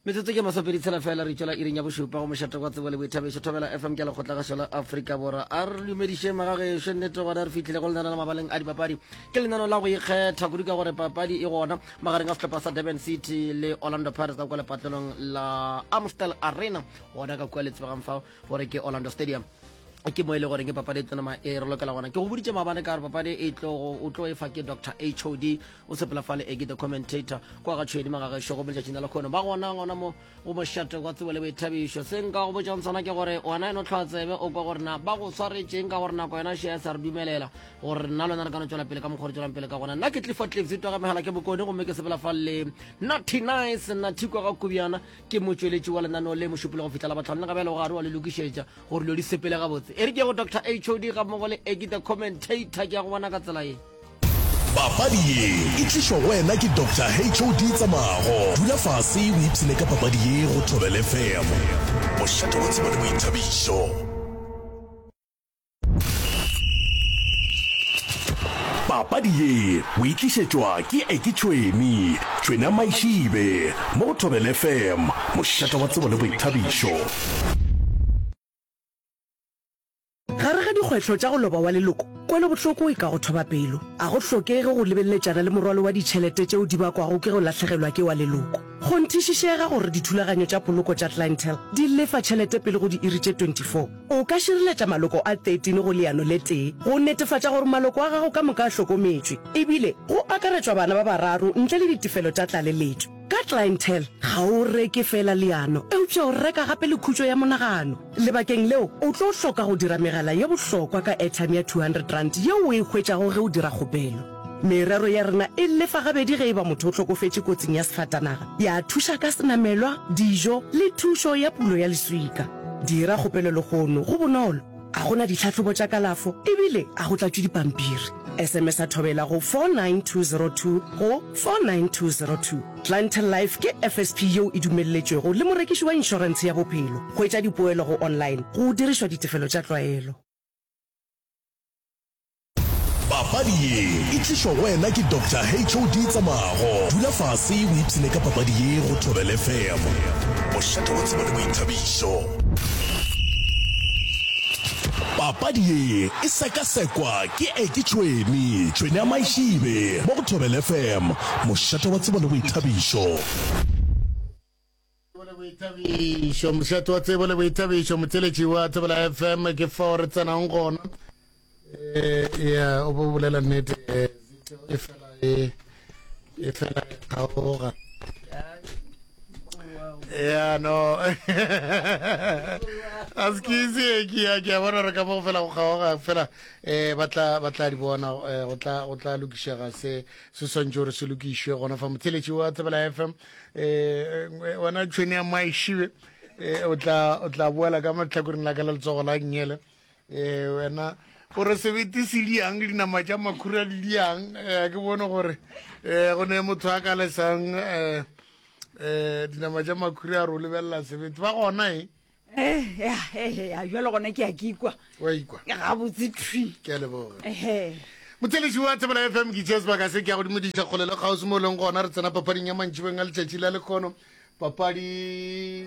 Metsotso ke masomepeditshela fela re itšwela iring ya bošupa go mošate wa tsebo le boithabišo Thobela FM ke lekgotlagašo la Afrika Borwa. A re dumediše magagešo nnete gona re fihlile go lenaneo la mabaleng a dipapadi. Ke lenaneo la go ikgetha kudu ka gore papadi e gona magareng a sehlopha sa Durban City le Orlando Pirates ka kua lepatlelong la Amstel Arena gona ka kua le tsebegang fao gore ke Orlando Stadium. Ke mo e le goreng ke papadi e tlo nama e re lokela gona. Ke go boditše maabane ka gore papadi e tlo o tlo e fa ke Doctor HOD o sepela fale e ke the commentator kwa ga tšhwedi magagešo go letšatšing la lekgono ba gona gona mo go mošate wa tsebo le boithabišo. Se nka go botšang sona ke gore wena eno tlhoa tsebe o kwa gore na ba go swaretšeng ka gore nako yona šea sa re dumelela gore nna le wena re ka no tšwela pele ka mokgwa re tšwelang pele ka gona. Nna ke Clifford Cliffs twa ga megala ke bokone gomme ke sepela fa le Natty Nice Natty kwa ga Kubjana ke motšweletši wa lenaneo le mošupologo go fihla la batlhano le gabjale o gare wa le lokišetša gore dilo di sepele gabotse. E re ke go Doctor HOD ga mmogo le Eki the commentator ke ya go bona ka tsela ye. Papadi ye e tlišwa go wena ke Doctor HOD Tsamago. Dula fase o ipshine ka papadi ye go Thobela FM, mošate wa tsebo le boithabišo. Papadi ye o e tlišetšwa ke Eki Tšhweni, Tšhweni ya Maišibe, mo go Thobela FM, mošate wa tsebo le boithabišo. Gare ga dikgwetlho tša go loba wa leloko, kwelobohloko e ka go thoba pelo. A go hlokege go lebeleletšana le morwalo wa ditšhelete tšeo di bakwago ke go lahlegelwa ke wa leloko. Kgonthišišega gore dithulaganyo tša poloko tša Clientele di lefa tšhelete pele go diiri tše 24. O ka šireletša maloko a 13 go leano le tee go netefatša gore maloko a gago ka moka a hlokometšwe, ebile go akaretšwa bana ba bararo ntle le ditefelo tša tlaleletšo. Ka Clientele, ga o reke feela leano, eupša o reka gape le khutšo ya monagano. Lebakeng leo, o tlo hloka go dira megala ye bohlokwa ka airtime ya R200 yeo o e hwetšago ge o dira kgopelo. Merero ya rena e lefa gabedi ge e ba motho o hlokofetše kotsing ya sefatanaga, ya thuša ka senamelwa, dijo le thušo ya pulo ya leswika. Dira kgopelo lehono, go bonolo, ga go na ditlhahlobo tša kalafo e bile ga go tlatšwe dipampiri. SMS-a Thobela go 49202 go 49202. Clientele Life ke FSP yeo e dumelletšwego le morekiši wa inšorentshe ya bophelo. Hwetša dipoelo go online go dirišwa ditefelo tša tlwaelo. Papadi ye e tlišwa go wena ke Doctor HOD Tsamago. Dula fase o ipshine ka papadi ye go Thobela FM, mošate wa tsebo le boithabišo. Papadi ye e sekasekwa ke Eki Tšhweni, Tšhweni ya Maišibe, mo go Thobela FM, mošate wa tsebo le boithabišo. Tsebo le boithabišo, mošate wa tsebo le boithabišo, motheletši wa Thobela FM, ke fao re tsenang gona. Eh, ya, o bo bolela nnete, eh, Zito e fela e, e fela e kgaoga. Ya, no. A se ke itse, ke ya, ke a bona re ka mo go fela go kgaoga, fela, eh, ba tla, ba tla di bona, eh, go tla, go tla lokišega se, se swantše gore se lokišwe gona fa. Motheletši wa Thobela FM, eh, wena tšhwene ya Maišibe, eh, o tla, o tla boela ka mo lehlakoreng la ka la letsogo la nngele. Ee, wena o re sebete se diang dinama tša makhura di diang um ke bone gore um go ne motho a ka lesang um um dinama tša makhura a re o lebelela sebete ba gona e ya jalo gona ke a ke ikwa wa ikwa gabotse thwi ke a leboga motheletši wa thebela fm ke tšea sebaka se ke ya godimo diša kgole le kgauswi mo e leng gona re tsena papading ya mantšibeng a letšatši la lekgono Papadi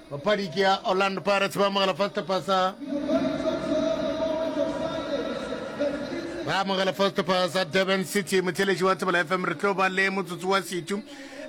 Papadi ke ya Orlando Pirates ba amogela first pasa ba amogela first pasa Durban City motheletši wa Thobela FM re tlo ba le motsotso wa setu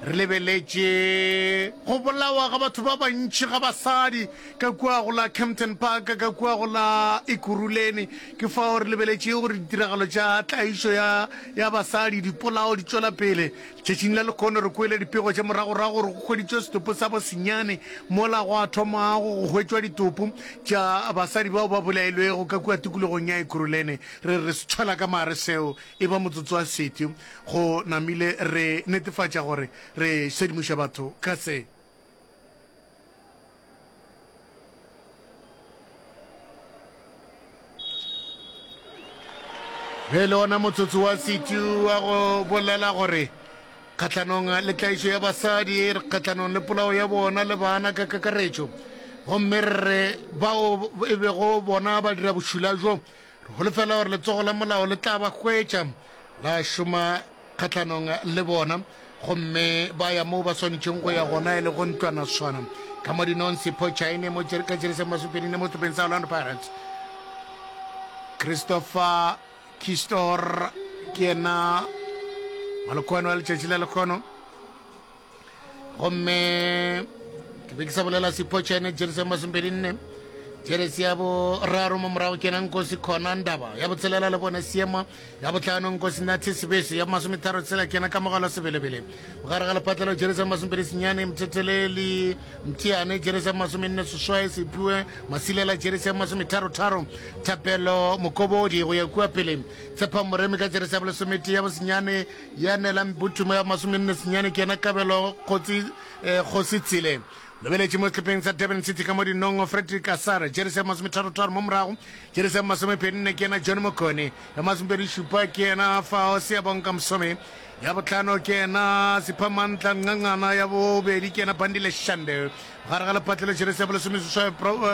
re lebeletše go bolawa ga batho ba bantši ga basadi ka kua go la Kempton Park ka kua go la Ekurhuleni ke fao re lebeletše gore ditiragalo tša tlaišo ya ya basadi dipolao di tšwela pele Tšatšing la lekhono re kwele dipego tša moragorago gore go hweditšwe setopo sa bosenyane mola gwa thomago go hwetšwa ditopo tša basadi bao ba bolailwego ka kua tikologong ya Ekurhuleni. Re re se tshwela ka mare seo e ba motsotso wa seti go namile re netefatša gore re sedimoša batho ka se. Ge le ona motsotso wa setu wa go bolela gore kgahlanong le tlaišo ya basadi, re kgahlanong le polao ya bona le bana ka kakaretšo, gomme re re bao e bego bona ba dira bošula bjo, re holofela gore letsogo la molao le tla ba hwetša la šoma kgahlanong le bona. Gomme ba ya moo ba swanetšeng go ya gona e le go ntlwanaswana. Ka mo dinong Sipho Chaine mo ka jeresi ya masomepedi-nne mo sehlopheng sa Orlando Pirates. Christopher Kistor ke yena malokwane wa letšatši la lekgono. Gomme ke be ke sa bolela Sipho Chaine jeresi ya masomepedi-nne. Jeresi ya boraro mo morago ke yena Nkosi Khona Ndaba, ya botshelela le bone Seema Ya bohlano Nkosinathi Sebese, ya masometharo tshela ke yena Kamogelo Sebelebele. Bogare ga lepatlelo jeresi ya masomepedi senyane Mthetheleli Mthiane, jeresi ya masomenne seswai Sephiwe Masilela, jeresi ya masometharo-tharo Thapelo Mokobodi go ya kua pele. Tshepa Moremi ka jeresi ya bolesometee ya bosenyane ya Nela Mbuthumo ya masomenne senyane ke yena Kabelo Kgotsi eh, Kgosi Tsile. Lebeletše mo sehlopheng sa Durban City ka mo dinongo Frederick Asare, jeresi ya masometharo-tharo mo morago Jeresi ya masomepedi-nne ke yena John Mokone, ya masomepedi-šupa ke yena Fao Siyabonga Msomi, ya bohlano ke yena Siphamandla Ncancana, ya bobedi ke yena Bandile Shande. Gare ga lepatlelo jeresi ya bolesomeseswai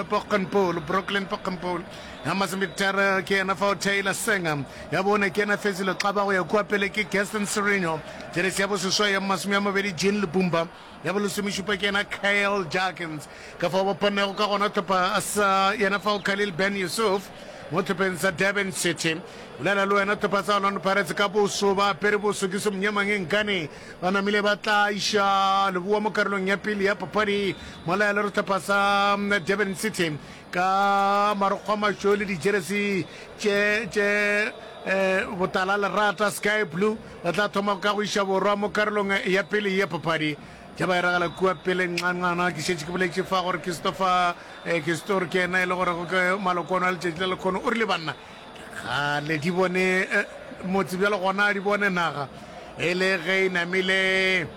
Poggenpoel, Brooklyn Poggenpoel, ya masometharo ke yena Fao Taylor Senga, ya bone ke yena Fezile Xaba, go ya kua pele ke Gaston Sirino, jeresi ya boseswai ya masome a mabedi Jean Lipumba. Ya bolesomešupa ke yena Kyle Jarkins. Ka fao ba pannego ka gona hlopha sa yena fao Khalil Ben Yusuf mo hlopheng sa Durban City. Bolela le wena hlopha sa Orlando Pirates ka boso ba apere boso ke somnyamang nkane ba namile ba tla iša leboa mo karolong ya pele ya papadi mola ya le re hlopha sa Durban City ka marokgo a mašweu le dijeresi tše tše eh, botala lerata sky blue Ba tla thoma ka go iša borwa mo karolong ya pele ya papadi. Tša ba iragala kua pele nqanqana. Ke šetše ke boletše fa gore Christopher eh, Kistor ke yena e le gore ke malokono a letšatši la lekgono. O rile banna ke kgale di bone eh, motse bjalo gona di bone naga e le ge e namile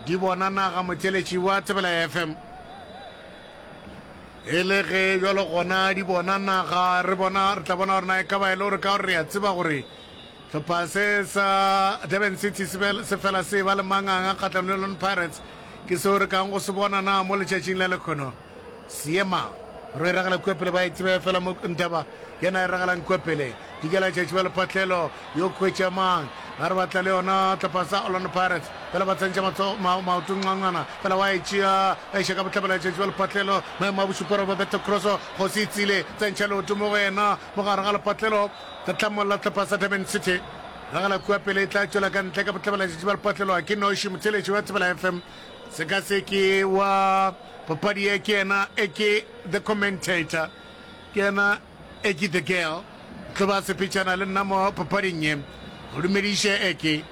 di bona naga motheletši wa Thobela FM. E le ge bjalo gona di bona naga re bona re tla bona gore na e ka ba e le gore ka gore re a tseba gore Hlopha se sa Durban City se fela se ba le manganga kgahlanong le Orlando Pirates. Ke seo re kang go se bona na mo letšatšing la lekhono. Seema ro e ragela kua pele ba e tsebe fela mo Ntaba yena e ragalang kua pele. Dikela tšatši ba lephatlelo yo khwetša mang ga re batla le yona hlopha sa Orlando Pirates fela ba tsentšha matsogo maoto nqanqana fela wa e tšea ba iša ka bohlabela tšatši ba lephatlelo maemo a bošupa Roberto Crosso kgosi e tsile tsentšha leoto mo go yena mo gare ga lepatlelo Ka tlamolla hlopha sa Durban City ragela kua pele e tla tšwela ka ntle ka bohlabela tšatši ba lepatlelo ke noši motheletši wa Thobela FM sekaseki wa papadi ye ke yena e ke the commentator ke yena e ke the girl tlo ba sepetšana le nna mo papading ye go dumediše e ke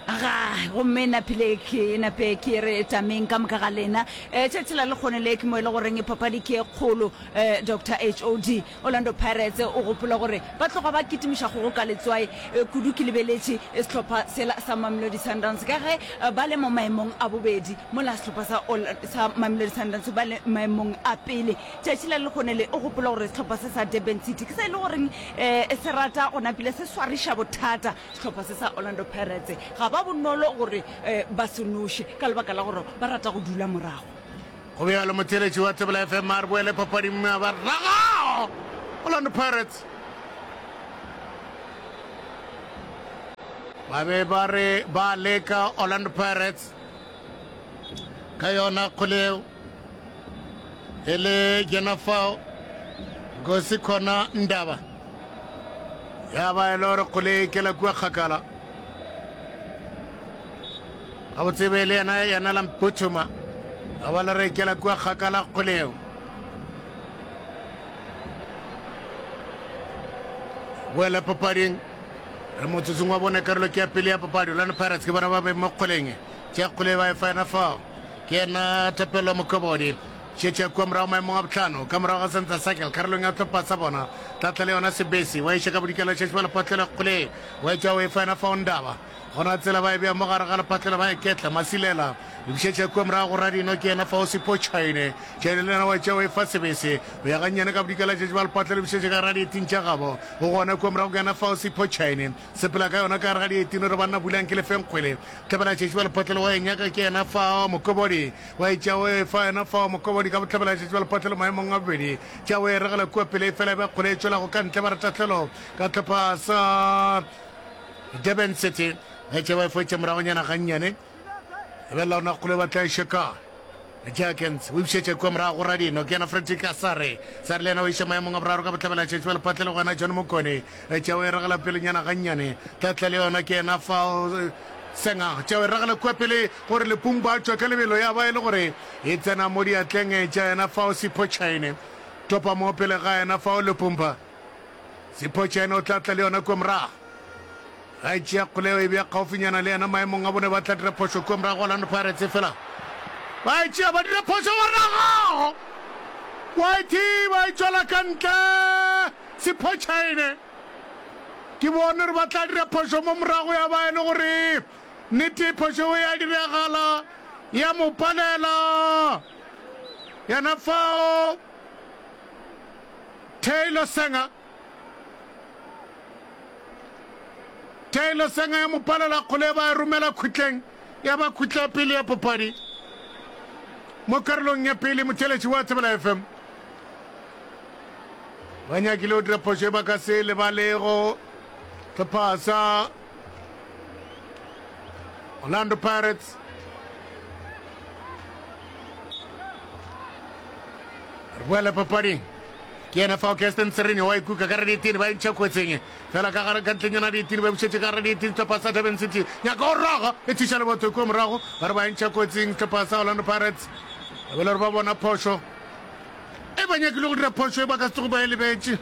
Ga, gomme napile ke nape ke re tameng ka moka ga lena. E, tšatši la lekgone le ke mo e le goreng papadi ke e kgolo. E, Doctor HOD, Orlando Pirates o gopola gore ba tloga ba kitimiša kgogo ka letswai kudu. Ke lebeletše sehlopha sela sa Mamelodi Sundowns ka ge ba le mo maemong a bobedi mola sehlopha sa sa Mamelodi Sundowns ba le maemong a pele. Tšatši la lekgone le o gopola gore sehlopha se sa Durban City ke se e le goreng se rata go napile se swariša bothata Sehlopha se sa Orlando Pirates ga ba bonolo gore ba se noše ka lebaka la gore ba rata go dula morago. Go bjalo motheeletši wa Thobela FM a re boele papading mme a ba raga Orlando Pirates. Ba be ba re ba leka Orlando Pirates ka yona kgole eo e le yena fao Nkosi Khona Ndaba ya ba e le gore kgole e kela kua kgakala gabotse be le yena yena la mputhuma a ba le re kela kua kgakala kgole eo boela papading re motsotsong wa bone karolo ke ya pele ya papadi Orlando Pirates ke bona ba be mo kgoleng tša kgole ba e fa yena fao ke yena Thapelo Mokobodi šetše kua morago maemong a bohlano ka morago ga center circle karolong ya tlhopha sa bona tlatla le yona sebesi wa iša ka bodikela šetše ba lephatlelo kgole wa etša o e fa yena fao Ndaba gona tsela ba e bea mo gare ga lephatlelo ba e ketla Masilela bušetša kua morago go Radino ke yena fao Sipho Chaine Chaine le yena wa etša o e fa sebese o ya gannyane ka bodikela šetše ba lephatlelo bušetša ka gare ga dieting tša gabo o gona kua morago ke yena fao Sipho Chaine sepela ka yona ka gare ga dieting re banna bulang ke lefeng kgwele Hlabela tšatši wa lephotlelo wa e nyaka ke yena fao mokobodi wa e tša o e fa yena fao mokobodi ka bohlabela tšatši wa lephotlelo maemong a bobedi tša o e regela kua pele e fela e ba kgole e tšwelago ka ntle ba re tahlelo ka hlopha sa Durban City ba tša ba e foetša moragonyana gannyane. Lebelela ona kgole ba tla e šeka. Jerkens o ipšetše kua morago go Radino, ke yena Fredrick Asare. Sare le yena o iša maemong a boraro ka bohlabela tšatši ba lephatla le go yena John Mokone. Tšeo e ragela pelenyana gannyane. Tlatla le yona ke yena fao Senga. Tšeo e ragela kua pele gore Lepumpa a tšwe ka lebelo ya ba e le gore e tsena mo diatleng tša yena fao Sipho Chaine. Topa mo pele ga yena fao Lepumpa. Sipho Chaine o tla tla le yona kua morago. Ga e tšea kgoleo e bea kgaufinyana le yena maemong a bone ba tla dira phošo kua morago Orlando Pirates fela ba e tšea ba dira phošo ba ragago wa e thiba e tšwela ka ntle Sipho Chaine ke bone gore ba tla dira phošo mo morago ya ba e le gore nnete phošo e ya diragala ya mo palela yena fao Taylor Sanger Taylor Senga ya mo palela kgole ba e romela khutleng ya ba khutla pele ya papadi mo karolong ya pele motheletši wa Thobela FM ba nyakile go dira phošo e ba ka se lebalego hlopha sa Orlando Pirates re boela papading ke yena fao Kirsten Serene wa ikuka ka radietini ba entšha kotsing fela ka gare ka ntlenyana dietini ba bušetše ka radietini sehlopha sa Durban City nyaka go raga e thuša lebotho kua morago ba re ba entšha kotsing sehlopha sa Orlando Pirates ba bele gore ba bona phošo e ba nyakile go dira phošo e ba ka se tsoge ba e lebetše.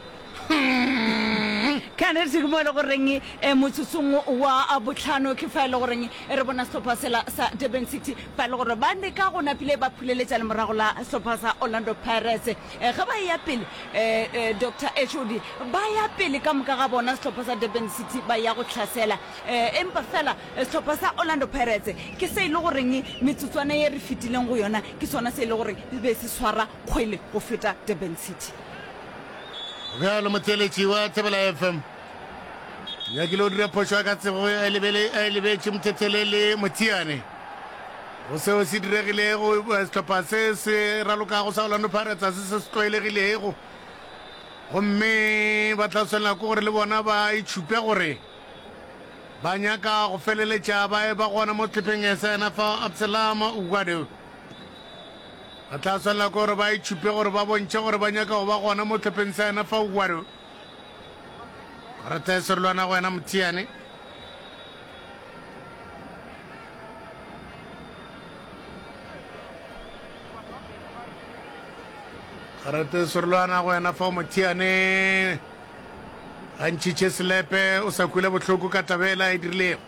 Ka nnete ke mo e le goreng eh, motsotsong wa botlhano ke fa e le goreng re bona sehlopha sela sa Durban City fa e le gore ba leka go napile ba phuleletša lemorago la sehlopha sa Orlando Pirates. Eh, ge ba eya pele eh, eh, Doctor HOD ba ya pele ka moka ga bona sehlopha sa Durban City ba ya go hlasela eh, empa fela eh, sehlopha sa Orlando Pirates ke se e le goreng metsotswana ye re fetileng go yona ke sona se e le goreng be se swara kgwele go feta Durban City. Bjalo motheeletši wa Thobela FM nyakile o dira phošo ya ka tsebo a e lebetše Mothethelele Motiane go seo se diregilego sehlopha se se ralokago sa Orlando Pirates a se se se tlwaelegilego gomme ba tla swanela ke gore le bona ba itšhupe gore ba nyaka go feleletša ba e ba gona mo sehlopheng sa yena fa Absalom Ugwado Ba tla swanela ke gore ba itšhupe gore ba bontšhe gore ba nyaka go ba gona mo hlopheng sa yena fa Ugwado. Karata ya serolwana go wena Mothiane. Karata ya serolwana go wena fa Mothiane. A ntšhitše selepe o sa kwele bohloko ka taba ela e dirilego.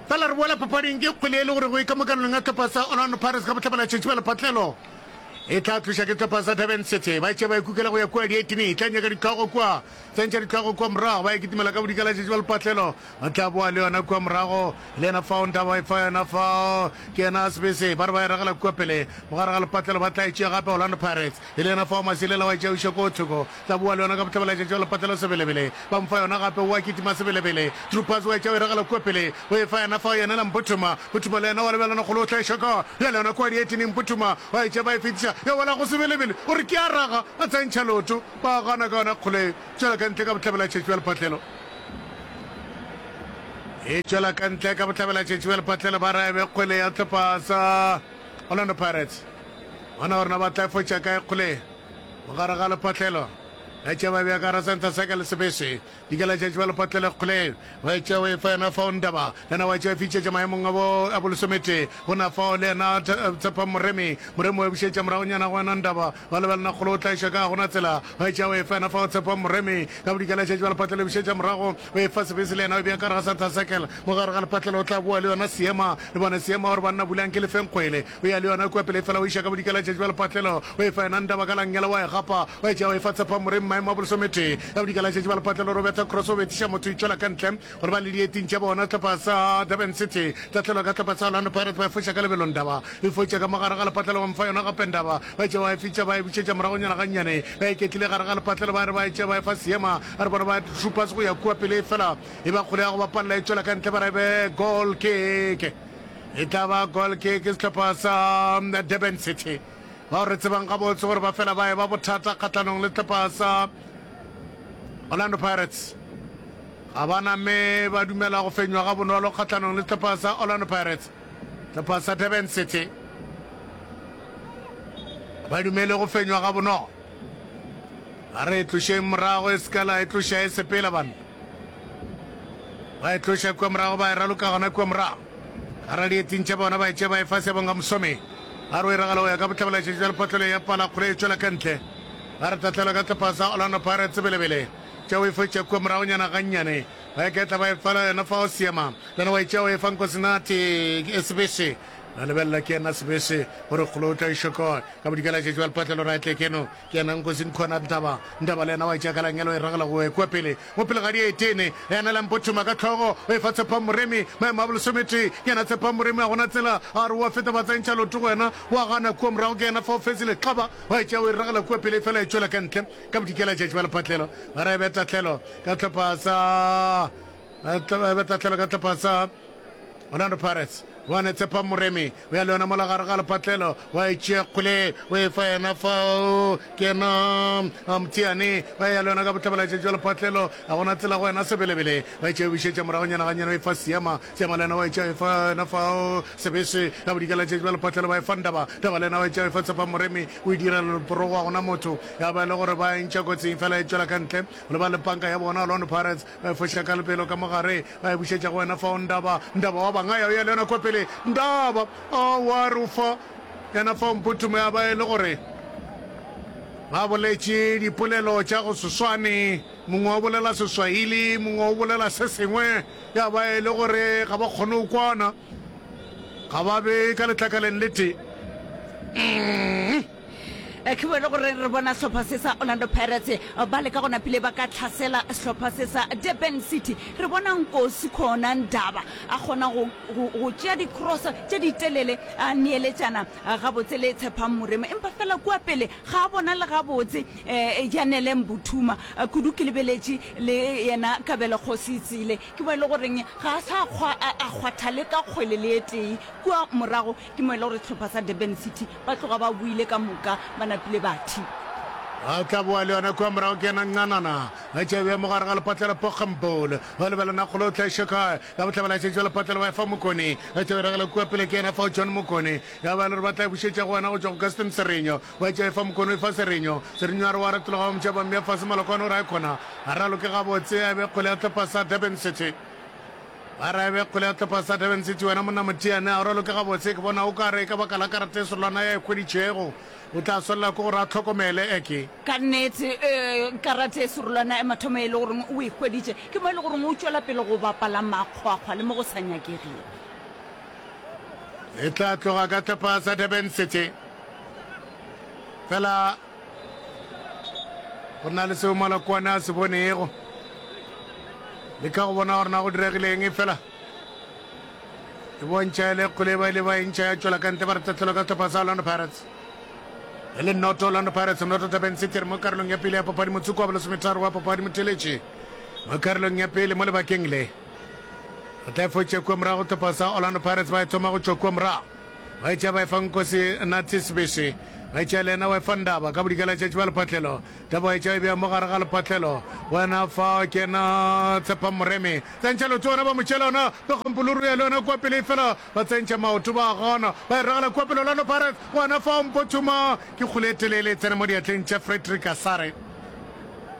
Fela re boela papading ke kgwele e le gore go e ka mokanelong ya hlopha sa Orlando Pirates ka bohlabela tšhetši ba lephatlelo e tla tloša ke hlopha sa Durban City ba tše ba ikukela go ya kua dietini e tla nyaka ditlhogo kua tsentšha ditlhogo kua morago ba e kitimela ka bodikela tšhetši ba lephatlelo ba tla boa le yona kua morago le yena fao ntaba e fa yona fao ke yena Sebese ba re ba e ragela kua pele mogare ga lepatlelo ba tla e tšea gape Orlando Pirates e le yena fao Masilela wa e tšea o iša ko thoko Tla boa le yona ka bohlabela tšatši wa lepatlelo sebelebele. Ba mo fa yona gape, o a kitima sebelebele. True pass wa e tšea o e ragela kua pele. O e fa yena fao yena la Mputhuma. Mputhuma le yena wa lebelana kgolo o tla e šoka. Bjale yona kua dietineng Mputhuma wa e tšea ba e fetiša. Ya wela go sebelebele. O re ke a raga. A tsentšha leoto. Ba gana ka yona kgolo e tšwela ka ntle ka bohlabela tšatši bja lepatlelo. E tšwela ka ntle ka bohlabela tšatši bja lepatlelo ba ra e be kgwele ya hlopha sa Orlando Pirates. Bona gore na ba tla e fotša kae kgole ye. Mogare ga lephatlelo, ba tšea ba bea ka gara santa sa ka le sebese. Dikela tša tšwa lephatlelo kgole, ba tšea o efa yena fao Ndaba, le yena wa tšea fitšetša maemong a bo a bolesometee. Go na fao le yena Tshepang Moremi, Moremi wa bušetša moragonyana go yena Ndaba, ba lebelana kgole o tlaiša ka gona tsela, ba tšea o efa yena fao Tshepang Moremi, ka bodikela tša tšwa lephatlelo bušetša morago o efa sebese le yena o bea ka gare ga santa circle. Mogare ga lephatlelo o tla boa le yona Seema, le bone Seema gore banna bulang ke lefeng kgwele. O ya le yona kua pele efela o iša ka bodikela tšatši bja lepatlelo. O e fa yena Ndaba ka la nngele wa e gapa. Wa e tšea wa e fa Tshephang Moremi maemo a bolesometee. Ka bodikela tšatši bja lepatlelo Roberta Cross o bethiša motho e tšwela ka ntle gore ba le dieting tša bona. Sehlopha sa Durban City tahlelwa ka sehlopha sa Orlando Pirates ba e foša ka lebelo Ndaba e fotša ka mogare ga lepatlelo ba mo fa yona gape Ndaba ba e tšea wa e fitša ba e bušetša moragonyana gannyane ba iketlile gare ga lepatlelo ba re ba e tšea ba e fa Seema a re bona ba Troopers go ya kua pele efela e ba kgole ya go bapalela e tšwela ka ntle ba re be goal kick. E tla ba goal kick sehlopha sa Durban City bao re tsebang gabotse gore ba fela ba eba bothata kgahlanong le sehlopha sa Orlando Pirates. Ga ba name ba dumela go fenywa ga bonolo kgahlanong le sehlopha sa Orlando Pirates. Sehlopha sa Durban City ba dumele go fenywa ga bonolo. A re e tlošeng morago e se ka la e tloša e sepela banna. Ba e tloša kua morago ba e raloka gona kua morago. Gara dieting tša bona ba e tšea ba e fa Siyabonga Msomi. A re o e ragela go ya ka bohlabela letšatši bja lephotlelo ya pala kgole e tšwela ka ntle. Ba re tahlelo ka sehlopha sa Orlando Pirates sebelebele. Tšea o e fetša kua moragonyana gannyane. Ba iketla ba e fela yena fao Seema. Le yena wa e tšea o e fa Nkosinathi Sebese. Ba lebelela ke yena Sebese gore kgolo o tla iša kae. Ka bodikela letšatši bja lephotlelo ra etle keno. Ke yena Nkosi Nkhona Ntaba. Ntaba le yena wa e tšea ka langelo o e ragela go kua pele. Mo pele ga dietene. Yena le Mpothuma ka hlogo o e fa Tshepang Moremi. Maemo a bolesometee. Ke yena Tshepang Moremi a gona tsela. A re o a feta ba tsentšha loto go yena. Wa gana kua morago ke yena fao Fezile Xaba wa e tšea o e ragela kua pele efela e tšwela ka ntle. Ka bodikela letšatši bja lephatlelo ba re e be tahlelo ka hlopha sa e be tahlelo ka hlopha sa Orlando Pirates. Bone Tshepang Moremi o ya le yona mola gare ga lepatlelo, wa e tšea kgole o e fa yena fao ke yena Mthiane, wa ya le yona ka bohlabela letšatši bja lepatlelo, a gona tsela go yena Sebelebele, wa e tšea o bušetša moragonyana gannyane o e fa Seema, Seema le yena wa e tšea o e fa yena fao Sebese, ka bodikela letšatši bja lepatlelo ba e fa Ndaba, Ndaba le yena wa e tšea o e fa Tshepang Moremi, o e dira leporogo a gona motho, ya ba e le gore ba e ntšha kotsing fela e tšwela ka ntle go leba le panka ya bona Orlando Pirates. Ba e foša ka lebelo ka mo gare, ba e bušetša go wena fao Ndaba. Ndaba wa bangaya, o ya le yona kua pele. Ndaba! Aowa, re o fa yena fao Mphuthuma. Ya ba e le gore ba boletše dipolelo tša go se swane, mongwe o bolela Seswahili, mongwe o bolela se sengwe. Ya ba e le gore ga ba kgone go kwana, ga ba be ka letlakaleng le tee. Mm. Ke bone gore re bona sehlopha se sa Orlando Pirates ba leka go napile ba ka tlhasela sehlopha se sa Durban City. Re bona Nkosi Khona Ndaba a kgona go, go, go tšea di-cross tše di telele a neeletšana gabotse le Tshepang Moremi, empa fela kua pele ga a bona le gabotse eh, Janele Mbuthuma kudu. Ke lebeletše le yena Kabelo Kgosi Tsile, ke mo e le goreng ga a sa kgwa, a kgwatha le ka kgwele le e tee kua morago. Ke mo e le gore sehlopha sa Durban City ba tloga ba boile ka moka ba napile ba thi. Ba tla boa le yona kua morago ke yena Ncanana. Ba tšea bja mo gare ga lepatlelo Poggenpoel. Ba lebela na kgolo o tla iša kae. Ka bohlabela šetše ba lepatlelo ba efa Mokone. Ba tšea ba ragela kua pele ke yena fao John Mokone. Ya ba e le gore ba tla e bušetša go wena go tšwa go Gaston Serenyo. Ba tšea efa Mokone o efa Serenyo. Serenyo a re wa retologa ba mo tšea ba mmea fase Malokwane o re aikhona a raloke gabotse a be kgole ya hlopha sa Durban City. Ba re be kgole ya hlopha sa Durban City wena monna Motiane a o raloke gabotse ke bona o ka re ka baka la karata e serolwana ya e hweditšego o tla swanela ke gore a hlokomele eke. Ka nnete karata e serolwana ya mathomo e le goreng o e hweditše ke mo e le goreng o tšwela pele go bapala makgwakgwa le mo go sa nyakegego. E tla tloga ka hlopha sa Durban City fela. Go na le seo Malokwane a se bonego. Leka go bona gore na go diregile eng efela e bontšha e le kgole ba ile ba e ntšha ya tšwela ka ntle ba re tahlelo ka sehlopha sa Orlando Pirates. E le noto Orlando Pirates noto Durban City re mo karolong ya pele ya papadi motsoko wa bolesometharo wa papadi motheletše mo karolong ya pele mo lebakeng le. Re tla e fotša kua morago sehlopha sa Orlando Pirates ba e thoma go tšwa kua morago. Ba etša ba efa Nkosi Nathi Sibisi. Ba etša le yena wa efa Ndaba ka bodikela tšatši ba lephatlelo. Taba wa etša e bea mo gare ga lephatlelo. Wena fa ke yena Tshepang Moremi. Tsentšha leoto wena ba mo tšeela yona. Pekgompoluru ya le yona kua pele efela ba tsentšha maoto ba gana. Ba e ragela kua pele Orlando Pirates. Wena fa Mpothuma ke kgole e telele e tsena mo diatleng tša Frederick Asare.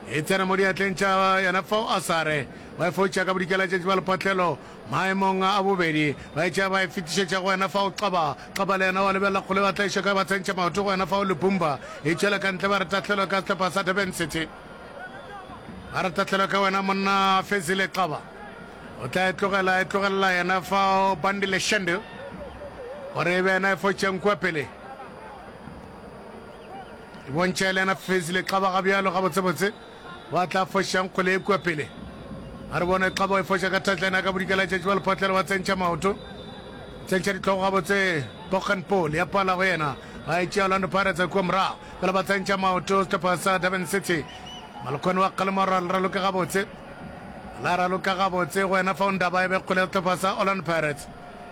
E tsena mo diatleng tša yena fao Asare. Wa e fotša ka bodikela tšatši ba lephatlelo. Maemong a bobedi, ba etša ba e fetišetša go wena fao Xaba. Xaba le yena wa lebelela kgole ba tlaiša ka ba tsentšha maoto go wena fao Lupumba. E tšwela ka ntle ba re tahlelo ka sehlopha sa Durban City. Ba re tahlelo ka wena monna Fezile Xaba. O tla e tlogela e tlogelela yena fao Bandile Shandu gore e be yena e fotšeng kua pele. E bontšha e le yena Fezile Xaba ga bjalo gabotsebotse. Ba tla fošang kgwele ye kua pele. A re bone Xaba e foša ka touchline ya ka bodikela tšatši ba lephotlelo ba tsentšha maoto. Tsentšha dihlogo gabotse Boggenpoel ya pala go yena. Ba e tšea Orlando Pirates kua morago. Fela ba tsentšha maoto sehlopha sa Durban City. Malokwane wa kgalema gore a le raloke gabotse. La raloka gabotse go yena fao Ndaba e be kgwele ya sehlopha sa Orlando Pirates.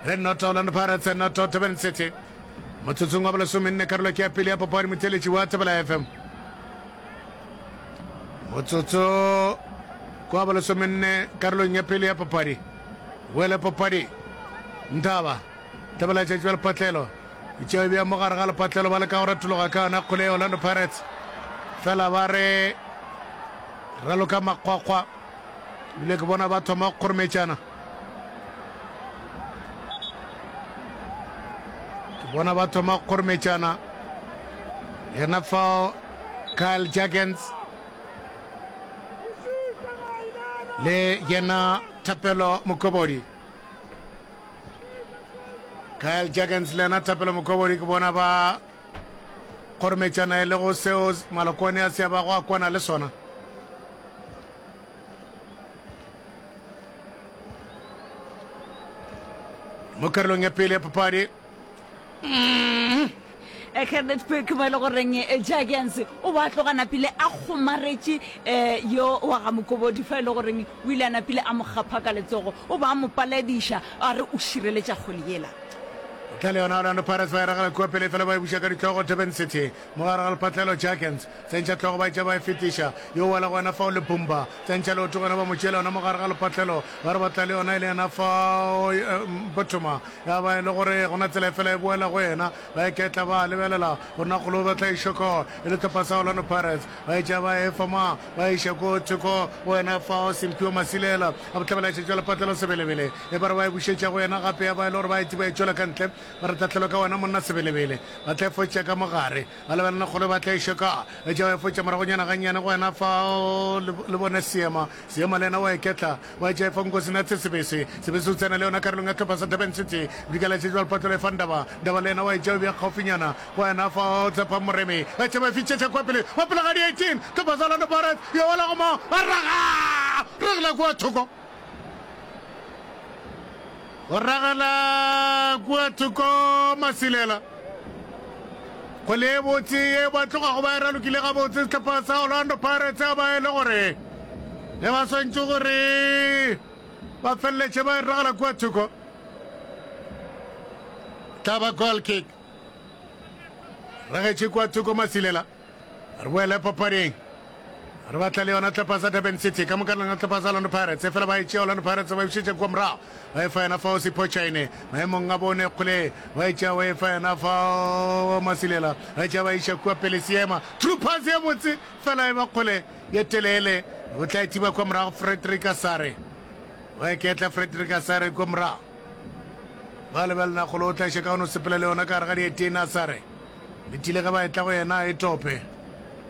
Re noto Orlando Pirates noto Durban City. Motsotsong wa bolesomenne karolo ke ya pele ya papadi motheeletši wa Thobela FM. Motsotso kwa bolesomenne karolong ya pele ya papadi. Boele papadi. Ntaba. Tlabela tšatši ba lepatlelo. E tšea e bea mo gare ga lepatlelo ba leka go retologa ka yona kgole ya Orlando Pirates. Fela ba re raloka makgwakgwa. Ebile ke bona ba thoma go kgorometšana. Ke bona ba thoma go kgorometšana. Yena fao Kyle Jurgens le yena Thapelo Mokobodi. Kyle Jurgens le yena Thapelo Mokobodi ke bona ba kgorometšana e lego seo Malokwane a se a bago a kwana le sona. Mo karolong ya pele ya papadi Kenneth Pick mo e le goreng eh, Jurgens o ba tloga napile a kgomaretše um yo wa ga Mokobodi fa e le goreng o ile a napile a mo kgapha ka letsogo o ba a mo palediša a re o šireletša kgole yela. O tla le yona Orlando Pirates ba e ragela kua pele fela ba e buša ka ditlogo Durban City mo gare ga lepatlelo Jurgens tsentšha tlogo ba etša ba e fetiša yo wela go yena fao le Bumba tsentšha leoto go yena ba mo tšeela yona mo gare ga lepatlelo ba re ba tla le yona e le yena fao Mpothoma ya ba e le gore gona tsela e fela e boela go yena ba iketla ba lebelela gore na kgolo ba tla e šoko e le tlhopha sa Orlando Pirates ba etša ba e fa ma ba iša ko thoko go yena fao Simphiwe Masilela a bohlabela šetšwa lepatlelo Sebelebele e ba re ba e bušetša go yena gape ya ba e le gore ba e ba e tšwela ka ntle ba re tahlelo ka wena monna Sebelebele ba tla e fotša ka mogare ba lebelela kgolo ba tla e šoka etša ba e fotša moragonyana gannyane go yena fao le bone seema seema le yena wa iketla Wa etša efa Nkosinathi Sebese. Sebese o tsena le yona karolong ya hlopha sa Durban City. Bodikela tše jwalo Patlolo efa Ndaba. Ndaba le yena wa etša o bea kgaufinyana go yena fa Tshepa Moremi. Ba etša ba e fitšetša kua pele. Wa pele ga di 18. Hlopha sa Orlando Pirates ya wela go mo ba raga. Ragela kua thoko. Go ragela kua thoko Masilela. Kgwele e botse ye ba tlogago ba e ralokile gabotse sehlopha sa Orlando Pirates a ba e le gore ge ba swantše gore ba feleletše ba e ragela kua thoko. Tla ba goal kick. Ragetše kua thoko Masilela. Re boele papading. Re batla le yona tlhopha sa Durban City ka moka lona tlhopha sa Orlando Pirates efela ba e tšea Orlando Pirates ba e bušetša kua morago ba e fa yena fao Sipho Chaine maemong a bone kgole ba e tšea ba e fa yena fao Masilela ba e tšea ba iša kua pele Seema true pass ye botse fela e ba kgole ye telele o tla e thiba kua morago Frederick Asare ba e ketla Frederick Asare kua morago ba lebelela kgole o tla iša ka gone o sepela le yona ka gare ga dietene Asare Letile ge ba etla go yena a e tope.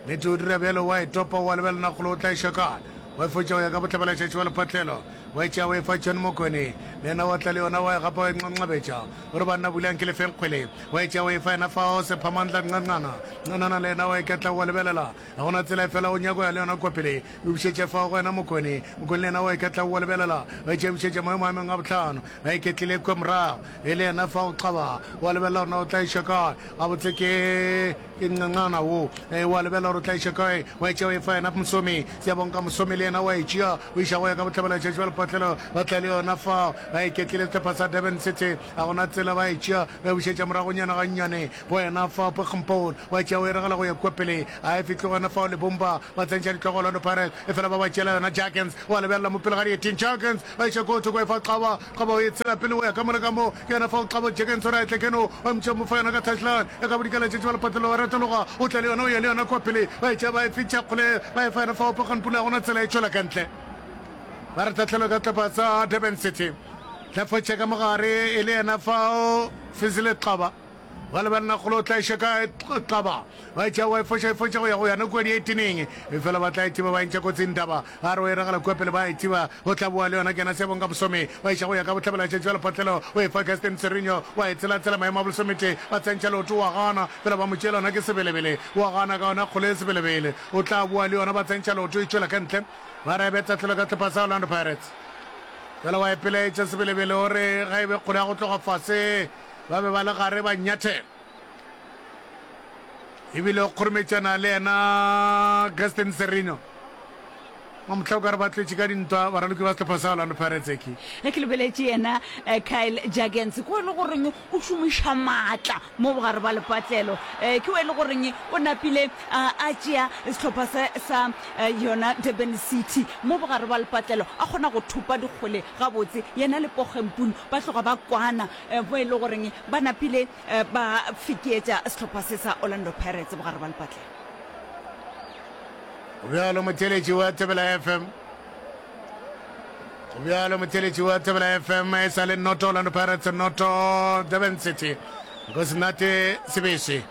Nnete o dira bjalo, o a e topa, o a lebelela nakgolo o tla e šoka. Wa e fotša go ya ka bohlabelatšatši wa lephatlelo. Wa e tšea wa e fa John Mokone. Le yena wa tla le yona wa e gapa wa e nqanqabetša. O re banna bulang ke le feng kgwele. Wa e tšea wa e fa yena fao Sephamandla Nqanqana. Nqanana le yena wa e ketla o a lebelela. Ga go na tsela efela o nyako ya le yona kua pele. O e bušetše fao go yena Mokone. Mokone le yena wa e ketla o a lebelela. Wa e tšea bušetša maemo a mengwe a bohlano. Ba iketlile kua morago. E le yena fa o qaba, wa lebelela gore na o tla iša kae. Gabotse ke, ke nqanqana wo. E, wa lebelela gore o tla iša kae. Wa e tšea wa e fa yena Mosomi. Siyabonga Mosomi le yena wa e tšea, o iša go ya ka bohlabela tšatši ba lepatlelo. Ba tla le yona fao. Ba iketlile sehlopha sa Durban City. Ga go na tsela ba e tšea, ba e bušetša moragonyana gannyane go yena fao Poggenpoel. Wa e tšea o e ragela go ya kua pele. A e fihle gona fao Lebomba. Ba tsentšha ditlogo Orlando Pirates. Efela ba ba tšeela yona Jurgens. Wa lebelela mo pele ga dieteng Jurgens. Ba iša ko thoko e fa Xaba. Xaba o e tshela pele o ya ka mo le ka mo. Ke yena fao Xaba Jurgens o re a etle keno. Wa mpša mo fa yona ka touchline. Ya ka bodikela tšatši ba lepatlelo wa retologa. O tla le yona o ya le yona kua pele. Ba e tšea ba e fetša kgole ba e fa yena fao Pokgan Pula ga gona tsela e tšwela ka ntle. Ba re tahlelo ka tlapa sa Durban City. Tla fotša ka mogare e le yena fao Fezile Xaba. Ba lebelela kgolo o tla iša kae Xaba. Ba e tšea wa e foša e foša go ya go yana kua dieteneng. Efela ba tla e thiba ba e ntšha kotsing Taba. Ba re o e ragela kua pele ba e thiba. O tla boa le yona Kena Siyabonga Mosomi. Ba iša go ya ka bohlabela tšatši bja lepatlelo. O e fa Gaston Sirino. Wa e tsela-tsela maemo a bolesomete. Ba tsentšha leoto wa gana. Fela ba mo tšeela yona ke Sebelebele. Wa gana ka yona kgolo e Sebelebele. O tla boa le yona ba tsentšha leoto e tšwela ka ntle. Ba re e be tahlelo ka sehlopha sa Orlando Pirates. Fela wa e pelaetša Sebelebele o re ga e be kgolo ya go tloga fase. Ba be ba le gare ba nyathela ebile o kgorometšana le yena Gaston Serino. Mamohla o ka re ba tletše ka dintwa baraloki ba sehlopha sa Orlando Pirates eke. Ge ke lebeletše yena Kyle Jurgens, ke o e le goreng o šomiša maatla mo bogare ba lepatlelo. Ke o e le goreng o napile a tšea sehlopha se sa yona Durban City mo bogare ba lepatlelo, a kgona go thopa dikgwele gabotse. Yena le Poge Mpunu ba tloga ba kwana mo e le goreng ba napile ba fekeetša sehlopha se sa Orlando Pirates bogare ba lepatlelo. Go bjalo motheeletši wa Thobela FM. Go bjalo motheeletši wa Thobela FM e sa le noto Orlando Pirates noto Durban City. Nkosinate Sebese.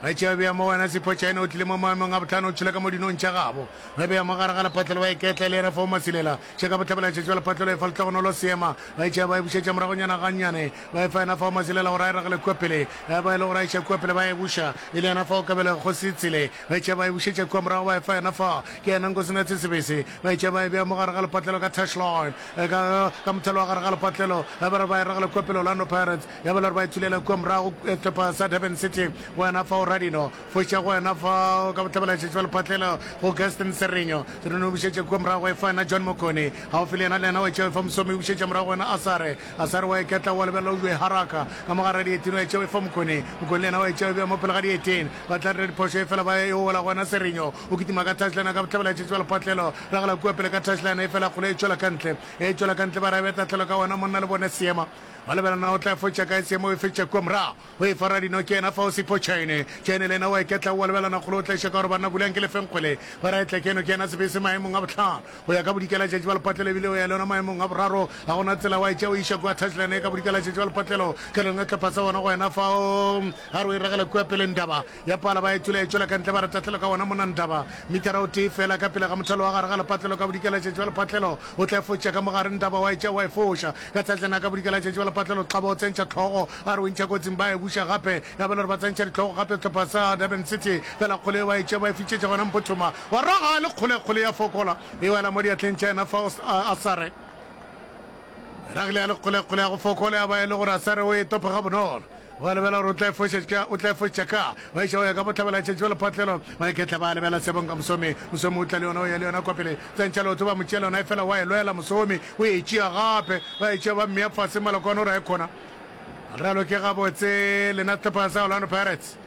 Ba tšea bea mo wena Sipho Chaine o tlile mo maemong a bohlano o tšhela ka mo dinong tša gabo. Ba bea mo gare ga lepatlelo ba iketla le yena fao Masilela. Tšheka bohlabela tšatši ba lepatlelo e fa Lehlogonolo seema. Ba tšea ba e bušetša moragonyana gannyane. Ba e fa yena fao Masilela gore a e ragele kua pele. Ba e le gore a iša kua pele ba e buša. E le yena fao Kabelo Kgosi Tsele. Ba e tšea ba e bušetša kua morago ba e fa yena fa. Ke yena Nkosinathi Sebese. Ba e tšea ba e bea mo gare ga lepatlelo ka touchline. Ka, ka mothalo wa gare ga lepatlelo. Ba re ba e ragela kua pele Orlando Pirates. Ya ba le gore ba e thulela kua morago sehlopha sa Durban City. Go yena fao Radino. Foša go yena fao ka bohlabela tšatši ba lepatlelo go Gaston Serinho. Serinho o bušetša kua morago e fa yena John Mokone. Gaufi le yena le yena wa e tšea e fa Mosomi o bušetša morago go yena Asare. Asare wa iketla wa lebelela o jwe haraka ka mo gare ga dietene wa e tšea e fa Mokone. Mokone le yena wa e tšea e bea mo pele ga dietene. Ba tla dira diphošo efela ba e ola go yena Serinho. O kitima ka touchline ka bohlabela tšatši ba lepatlelo. Ragela kua pele ka touchline efela kgole e tšwela ka ntle. E tšwela ka ntle ba re a be tahlelo ka wena monna le bone seema. Ba lebelela na o tla e fotša kae seema o e fetša kua morago. O e fara dino ke yena fao Sipho Chaine. Chaine le yena o a iketla o a lebelana kgole o tlaiša ka gore banna bulang ke lefeng kgwele. Ba re a etle keno ke yena Sebese maemong a bohlano. Go ya ka bodikela tšatši ba lepatlelo ebile o ya le yona maemong a boraro. Ga gona tsela wa e tšea o iša kua touchline e ka bodikela tšatši ba lepatlelo. Tlelong ya hlopha sa bona go yena fao ga re o e ragela kua pele Ndaba ya pala ba e tswela e tšwela ka ntle ba re tahlelo ka wona mona Ndaba. Mithara o tee fela ka pele ga mothalo wa gare ga lepatlelo ka bodikela tšatši ba lepatlelo o tla e fotša ka mogare Ndaba wa e tšea wa e foša ka tsatlana ka bodikela tšatši ba lepatlelo Xaba o tsentšha tlhogo a re o ntšha kotsing ba e buša gape ya ba le gore ba tsentšha ditlhogo gape sehlopha sa Durban City fela kgole ba e tšea ba e fitšetša gona Mpothoma wa raga le kgole kgole ya fokola e wela mo diatleng tša yena Faust Asare ragile ya le kgole kgole ya go fokola ya ba e le gore Asare o e topa ga bonolo ba lebela gore o tla e fošetša o tla e fošetša ka ba iša go ya ka bohlabela tšatši ba lephatlelo ba iketla ba lebela sebong ka mosomi mosomi o tla le yona o ya le yona kwa pele tsentšha leoto ba mo tšea lona e fela wa e lwela mosomi o e tšea gape ba e tšea ba mmea fase malokwane o re a e kgona raloke gabotse lena sehlopha sa Orlando Pirates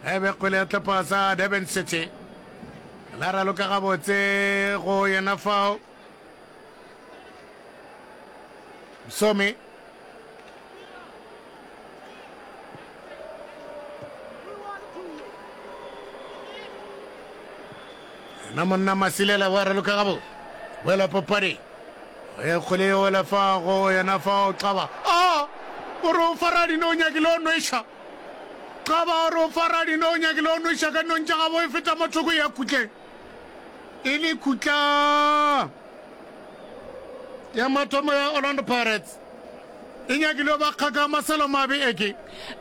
e be kgwele ya sehlopha sa Durban City la raloka gabotse go yena fao Msomi na monna Masilela wa raloka gabo wela papadi e kgwele e wela fa go yena fa o xaba a o re o fara dino o nyakile o nweša xaba o re o fara dino o nyakile o nweša ka nong tša gabo e feta mathoko ya khutleng e le khutla ya mathomo ya Orlando Pirates e nyakile ba kgaka maselo mabe eke.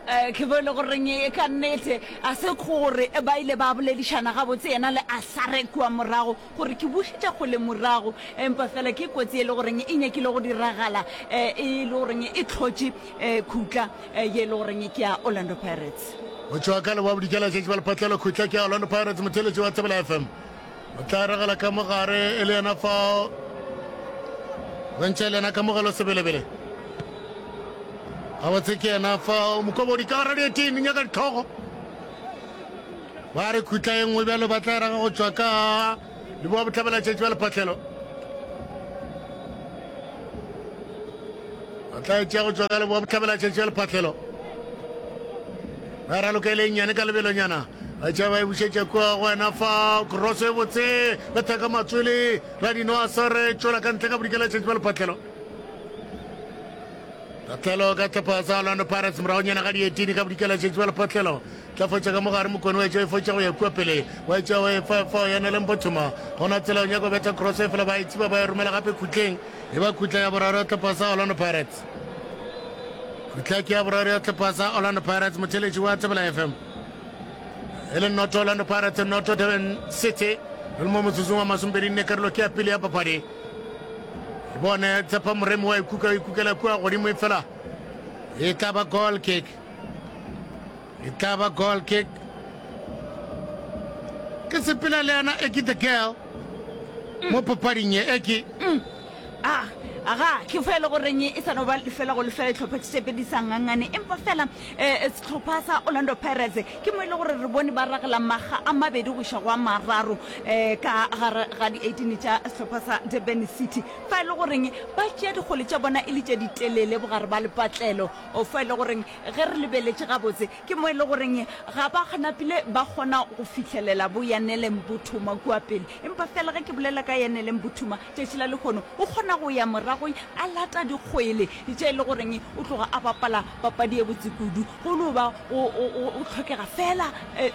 Eh, ke bone goreng e ka nnete a se gore ba ile ba boledišana gabotse yena le Asare kua morago gore ke bušetša kgole morago empa fela ke kotsi e le goreng e nyakile go diragala eh, e le goreng e tlhotše eh, khutla ye e le goreng ke ya Orlando Pirates. Go tšwa ka leboa bodikela tšatši ba lephatlelo khutla ke ya Orlando Pirates motheeletši wa Thobela FM o tla regela ka mogare e le yena fao bontšha le yena kamogelo sebelebele gabotse ke yena fao mokobodi ka gara dieteng nyaka ditlhogo ba re khutla e nngwe bjalo ba tla raga go tšwa ka leboa bohlabela tšatši ba lephatlelo ba tla e tšea go tšwa ka leboa bohlabela tšatši ba lephatlelo ba raloka e le nnyane ka lebelonyana ba tšea ba e bušetša kua go wena fa cross e botse betha ka matswele radino a sare tšwela ka ntle ka bodikela tšatši ba lephatlelo Tahlelo ka hlopha sa Orlando Pirates moragonyana ga dietini ka bodikela tšatši ba lephatlelo tla fotša ka mogare mokone wa etša e fotša go ya kua pele wa etša wa e fa fao ya nele mpothoma gona tsela o nyaka betha cross e fela ba e tsiba ba e romela gape khutleng e ba khutla ya boraro ya hlopha sa Orlando Pirates khutla ke ya boraro ya hlopha sa Orlando Pirates motheletši wa Thobela FM e le noto Orlando Pirates noto Durban City re le mo motsotsong wa masomepedi nne karolo ke ya pele ya papadi bone tshepa moremi wa ikuka o ikukela kua godimo e fela e tla ba goal kick e tla ba goal kick ke sepela le yena eki the girl. Mo papading ye e ke. A, aga, ke fa e le goreng e sa no ba lefela go lefela dihlopha tše tšepedi di sa ngangane, empa fela um sehlopha sa Orlando Pirates ke mo e le gore re bone ba ragela makga a mabedi go iša go a mararo um ka gare ga di-18 tša sehlopha sa Durban City, fa e le goreng ba tšea dikgole tša bona e le tše ditelele bogare ba lepatlelo, fa e le goreng ge re lebeletše gabotse Ke mo e le goreng ga ba napile ba kgona go fihlelela bo Yanele Mbuthuma kua pele. Empa fela ge ke bolela ka Yanele Mbuthuma, tšatši la lehono o kgona go ya morago a lata dikgwele tše e le goreng o tloga a bapala papadi e botse kudu. Go no ba go hlokega fela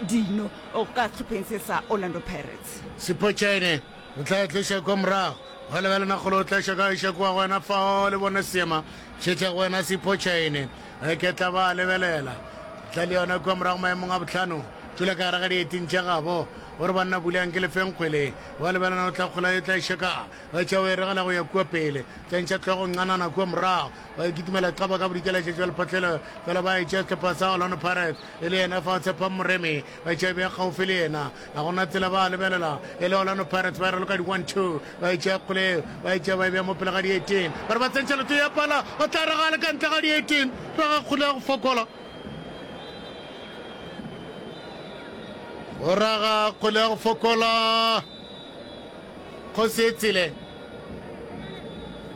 dino ka sehlopheng se sa Orlando Pirates. Sipho Chaine o tla e tloša kua morago. Wa lebelela kgole o tla šaka iša kua go wena fao le bone seema. Šetša go wena Sipho Chaine. Ge ke tla ba lebelela. Tla le yona kua morago maemong a bohlano. Tšwela ka gare ga dieting tša gabo. O re banna bulang ke lefeng kgwele. Wa lebelela o tla kgola e tla šaka. Ba tšea o e regela go ya kua pele. Tla ntšha hlogo nqanana kua morago. Ba e kitimela qaba ka bodikela tšatši wa lephatlelo. Fela ba e tšea sehlopha sa Orlando Pirates. E le yena fa Tshepang Moremi. Ba tšea bea kgaufsi le yena. Ga gona tsela ba lebelela e le Orlando Pirates ba e raloka di 1-2. Ba e tšea kgole eo, ba e tšea ba e bea mo pele ga di-18. Ba re ba tsentšha leoto ya pala, o tla re ga le ka ntle ga di-18. Raga kgole ya go fokola. O raga kgole ya go fokola. Kgosi e tsile.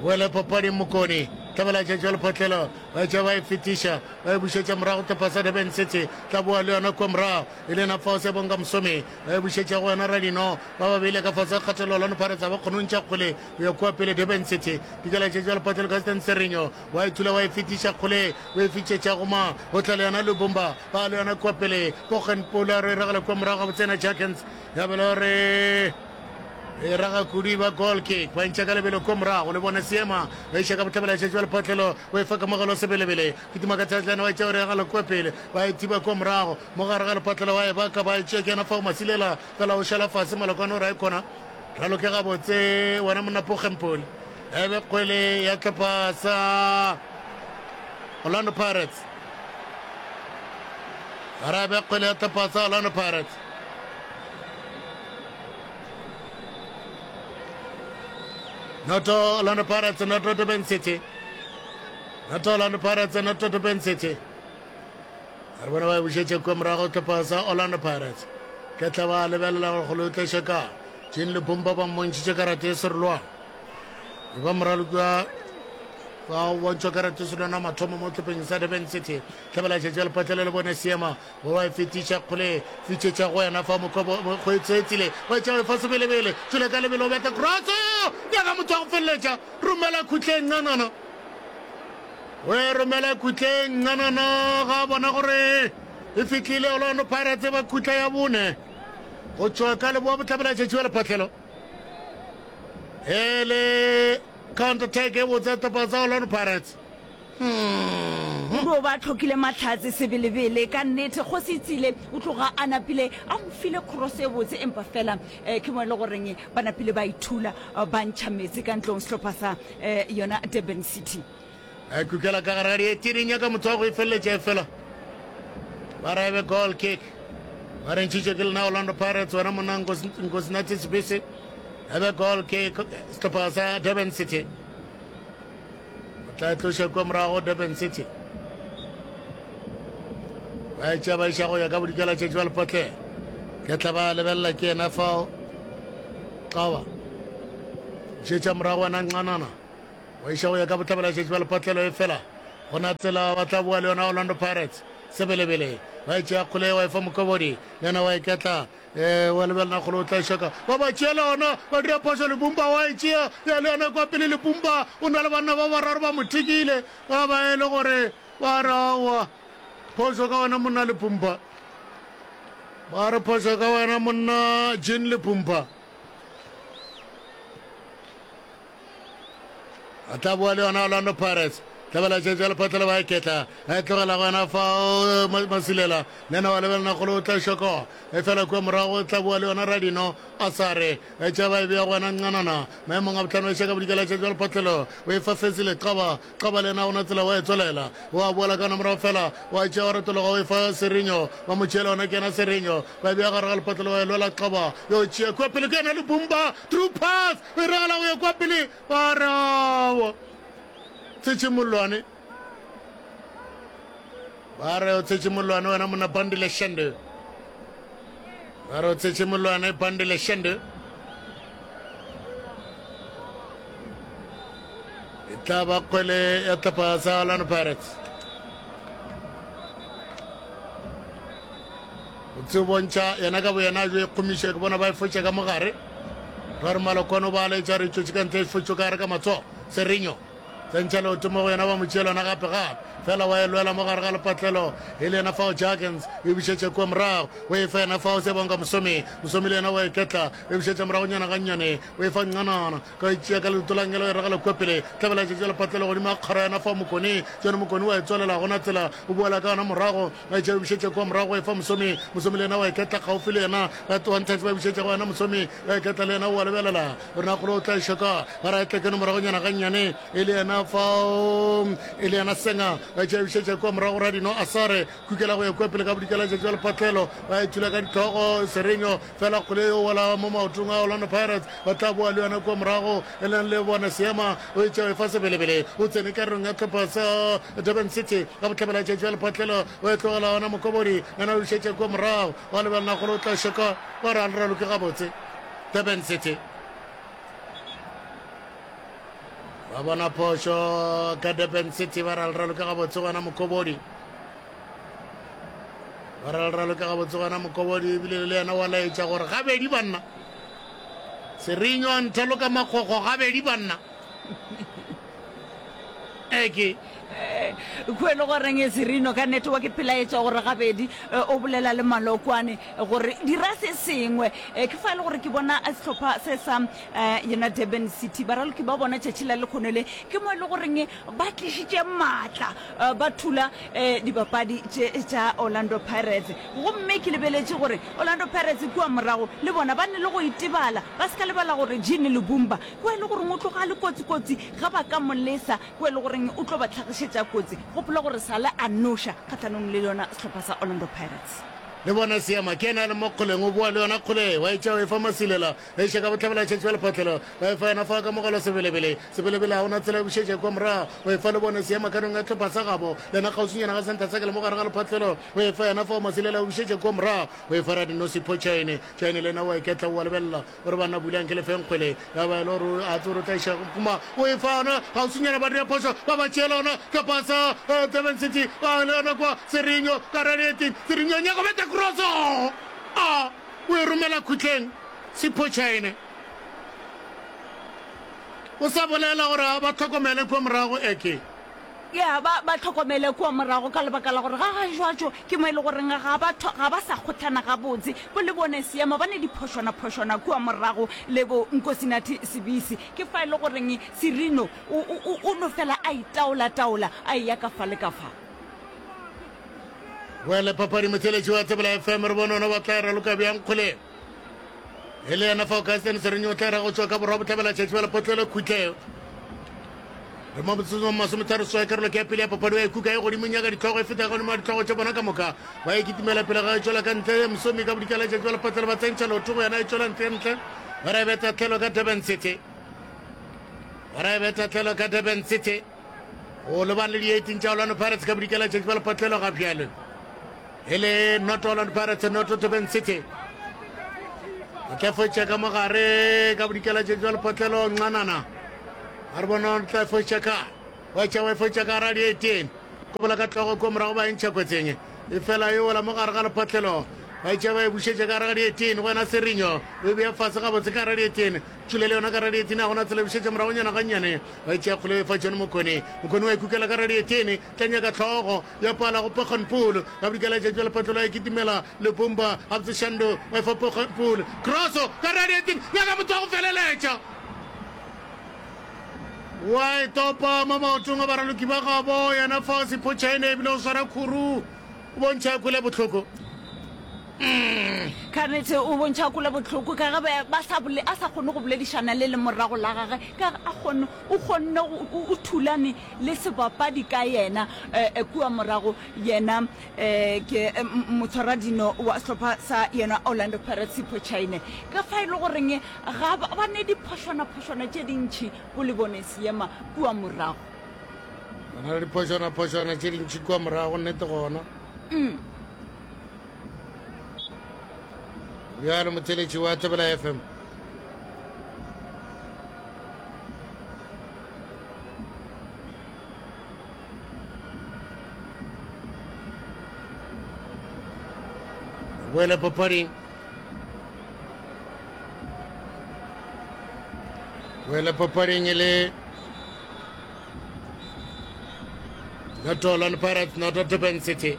Boele papading Mokone. Tlabela tšatši wa lephatlelo. Ba tšea ba e fetiša. Ba e bušetša morago tlhopha sa Durban City. Tla boa le yona kua morago. E le yena fao Sebonga Msomi. Ba e bušetša go wena Radino. Ba ba beile ka fase ga kgatelelo Orlando Pirates ga ba kgone go ntšha kgole go ya kua pele Durban City. Dikela tšatši wa lephatlelo Gaston Serinho. Wa e thula wa e fetiša kgole. O e fitšetša go ma. O tla le yona Lubumba. Ba le yona kua pele. Bogen Pula re e ragela kua morago gabotse yena Jacgens. Ya bela gore e raga kudu ba goal kick ba ntšha ka lebelo ko morago le bone seema ba iša ka bohlabela šetše wa lephatlelo o e fa kamogelo sebelebele kitima ka tshetlana wa tšea o regala kua pele ba e thiba kua morago mo gare ga lephatlelo wa e baka ba e tšea ke yena fao masilela fela o šala fase malokwane o ra e kgona raloke gabotse wena monna pogempole ebe kgwele ya tlhopha sa Orlando Pirates Arabe kgwele ya tlhopha sa Orlando Pirates Noto Orlando Pirates, noto Durban City. Noto Orlando Pirates, noto Durban City. Re bona ba e bušetše kua morago tlhopha sa Orlando Pirates. Ke tla ba lebelela gore kgolo e tleše ka. Jean Lipumba ba mmontšhitše karate e serolwana. E ba moraloki wa ba bontšhwa karate e serolwana mathomo mo tlhopheng sa Durban City. Tlhabela tšatši ya lepatlelo le bone seema Go wa e fetiša kgole, fitšetša go yena fa mokgobo mokgweetseetsile, wa etša fa sebelebele, tšwele ka lebelo beta cross, nyaka motho wa go feleletša, romela khutleng ncanana. O e romela khutleng ncanana ga bona gore e fitlile Orlando Pirates ba khutla ya bone go tšwa ka leboa bohlabela tšatši wa lephatlelo. E le counter attack e botse sehlopha sa Orlando Pirates. O tlo ba hlokile mahlatse sebelebele ka nnete. Kgosi Tsile o tloga a napile a mo file cross e botse empa fela eh, ke mo e le goreng ba napile ba ithula eh, ba ntšha meetse ka ntlong sehlopha sa eh, yona Durban City. A kukela ka gare ga dietini nyaka motho wa go e feleletša e fela ba ra ebe goal kick ba re ntšhitše ke lena Orlando Pirates wena monna Nkosinathi Sibisi ebe goal kick sehlopha sa Durban City O tla e tloša kua morago Durban City. Ba e tšea ba iša go ya ka bodikela tšatši ba lepotleng. Ke tla ba lebelela ke yena fao. Qaba. Šetša morago wena nqanana. Wa iša go ya ka bohlabela tšatši ba lepotlelo e fela. Gona tsela ba tla boa le yona Orlando Pirates. Sebelebele. Ba e tšea kgole wa e fa Mokobodi. Le yena wa e ketla. Ee, wa lebelela kgole o tla šaka. Ba ba tšeela ona, ba dira phošo. Lebumba wa e tšea, ya le yona kwa pele. Lebumba o na le banna ba bararo ba mo thekile, ba ba e le gore ba re aowa, phošo ka wena monna Lebumba. Ba re phošo ka wena monna Jean Lebumba. A tla boa le yona Orlando Pirates. Tlabela tšetša lephatla ba ketla. A tlogela gona fao Masilela. Le yena wa lebelela kgolo o tla šoko. E fela kua morago o tla boa le yona Radino a sa re. Tša ba e bea go wena Ncanana. Maemong a bohlano e šaka bodikela tšetša lephatlelo. O e fa Fezile Qaba. Qaba le yena gona tsela wa e tswelela. O a boela ka morago fela wa tšea wa retologa o e fa Serinyo. Ba mo tšeela yona ke yena Serinyo. Ba e bea gare ga lephatlelo wa e lwela Qaba. Yo tšea kua pele ke yena Lubumba. Through pass. O e ragela go ya kua pele. Ba re aowa. Tshetše mollwane. Ba re o tshetše mollwane wena monna Bandile Shende. Ba re o tshetše mollwane Bandile Shende. E tla ba kgwele ya tlhopha sa Orlando Pirates. O tse bontšha yena ka boyena jo e kgomiša ke bona ba e fotša ka mogare. Ra re Malokwane o ba laetša re tšwetše ka ntle e fotšwe ka gare ka matsogo. Serinyo tsentšha leoto mo go yena ba mo tšeela yona gape gape fela wa e lwela mo gare ga lepatlelo e le yena fao Jurgens o e bušetša kua morago o e fa yena fao Siyabonga Mosomi Mosomi le yena wa e ketla o e bušetša moragonyana gannyane o e fa Ncanana ka e tšea ka leoto la ngelo e ragela kua pele tlabela tšetša lepatlelo godimo ga kgoro yena fao Mokoni John Mokoni wa e tswalela gona tsela o boela ka yona morago ba e tšea o e bušetša kua morago o e fa Mosomi Mosomi le yena wa e ketla kgaufi le yena ba one touch ba e bušetša go yena Mosomi wa e ketla le yena o a lebelela Ronakgolo o tla šoka ba ra tlekeno moragonyana gannyane e le yena fao e le yena senga ba tšea bušetša kua morago radino a sare kukela go ya kua pele ka bodikela tšatši ba lephatlelo ba e thula ka ditlhogo serenyo fela kgole yo wela mo maotong a Orlando Pirates ba tla boa le yona kua morago e leng le bone seema o e tšea e fa sebelebele o tsene karolong ya tlhopha sa Durban City ka bohlabela tšatši ba lephatlelo o e tlogela ona mokobodi yena o bušetša kua morago wa lebelela golo o tla šoka ba re a le raloke gabotse Durban City. Ba bona phošo ka Durban City ba ralralo ka gabotse gona Mokobodi. Ba ralralo ka gabotse gona Mokobodi ebile le yena wa laetša gore gabedi banna. Serinyo a nthaloka makgokgo gabedi banna. Eke. Kua e le goreng Serino ka nnete wa ke pelaetša gore gabedi o bolela le Malokwane gore dira se sengwe. Ke fa e le gore ke bona sehlopha se sa yona Durban City baraloki ba bona tšatši la lekgono le ke mo e le goreng ba tlišitše maatla ba thula dibapadi tše tša Orlando Pirates. Gomme ke lebeletše gore Orlando Pirates kua morago le bona ba ne le go itebala ba se ka lebala gore Jean Lubumba Kwa e le goreng o tloga a le kotsi-kotsi ge ba ka mo lesa, kwa e le goreng o tlo ba hlagišetša kotsi. Gopola gore sale a noša kgahlanong le yona sehlopha sa Orlando Pirates. Le bona Seema ke yena a le mo kgoleng, o boa le yona kgole, wa e tšea o e fa Masilela, a iša ka bohlabela tšatši ba lephatlelo, ba e fa yena fa ka mogala Sebelebele, Sebelebele ga o na tsela e bušetša kua morago, o e fa le bone Seema kanong ya hlopha sa gabo, le yena kgauswinyana ga sentha sa ke le mo gare ga lephatlelo, o e fa yena fao Masilela o bušetša kua morago, o e fa Radinosipho Chaine, Chaine le yena o a iketla o a lebelela, O re banna bulang ke le feng kgwele ya ba e le gore a tsore o tla iša kuma o e fa ona gauswinyana ba dira phošo ba ba tšeela ona ka pasa eh, Durban City ba le yona kwa Serinyo ka radiating Serinyo nyaka beta crosso a o e romela khutleng Sipho Chaine o sa bolela gore ba tlhokomele kua morago eke Ya, ba, ba hlokomele kua morago ka lebaka la gore ga ga jwatšo ke mo e le goreng ga ba, ga ba sa kgohlana gabotse. Bo le bone seemo, ba ne diphošwana-phošwana kua morago le bo Nkosinathi Sibisi. Ke fa e le goreng Sirino o, o, o, o no fela a itaola-taola a eya ka fa le ka fa. Boele papadi motheletši wa Tsebela FM re bone ona ba tla e raloka bjang kgoleng. E le yena fa Augustine Serinyo o tla ra go tšwa ka borwa bohlabela tšatši ba lepotlelo khutle. Re mo motsotsong wa masometharo seswai karolo ke ya pele ya papadi wa e kuka e godimo nyaka ditlhogo e feta godimo ga ditlhogo tša bona ka moka ba e kitimela pele ga e tšwela ka ntle mosomi ka bodikela tšatši ba lepotlelo ba tsentšha leoto go yena e tšwela ntle ntle ba ra e betha tlhelo ka Durban City ba ra e betha tlhelo ka Durban City go lebane le di-18 tša Orlando Pirates ka bodikela tšatši ba lepotlelo ga bjale E le noto Orlando Pirates, noto Durban City. O tla fetša ka mogare ka bodikela tše jwa lepotlelo Nxanana. A re bona o tla fetša ka. Wa tša wa fetša ka ra di-18. Kobola ka tlogo ko morago ba e ntšha kotseng. E fela e wela mo gare ga lepotlelo. Ba tša ba e bušetša ka gare ga di-18 go wena Serinyo. O e bea fase gabotse ka gare di-18. Tšhule le yona ka gare di-18 a gona tsela e bušetša moragonyana gannyane. Ba tšea kgole e fa John Mokone. Mokone wa e kukela ka gare di-18. Tla nyaka hlogo ya pala go Pokgonpool. Ka bodikela letšatši la lepatlelo a kitimela Lupumba. Gabotse Shando wa efa Pokgonpool. Crosso ka radiating. Nyaka motho wa go feleletša. Wa e topa mo maotong a baraloki ba gabo yena fao Sipho Chaine ebile o swara khuru o bontšha kwele bohloko. Ka nnete o bontšha kwele bohloko ka ge ba sa bole a sa kgone go boledišana le lemorago la gage ka ge a kgone o kgonne o thulane le sebapadi ka yena kua morago yena ke motshwaradino wa sehlopha sa yena Orlando Pirates Sipho Chaine ka fa e le goreng ga ba ne diphošwana-phošwana tše dintši go le bone seema kua morago. Ba na le diphošwana-phošwana tše dintši kua morago, nnete gona. Mm. Bjalo motheletši wa Thobela FM. Boele papading. Boele papading e le Noto Orlando Pirates, Noto Durban City.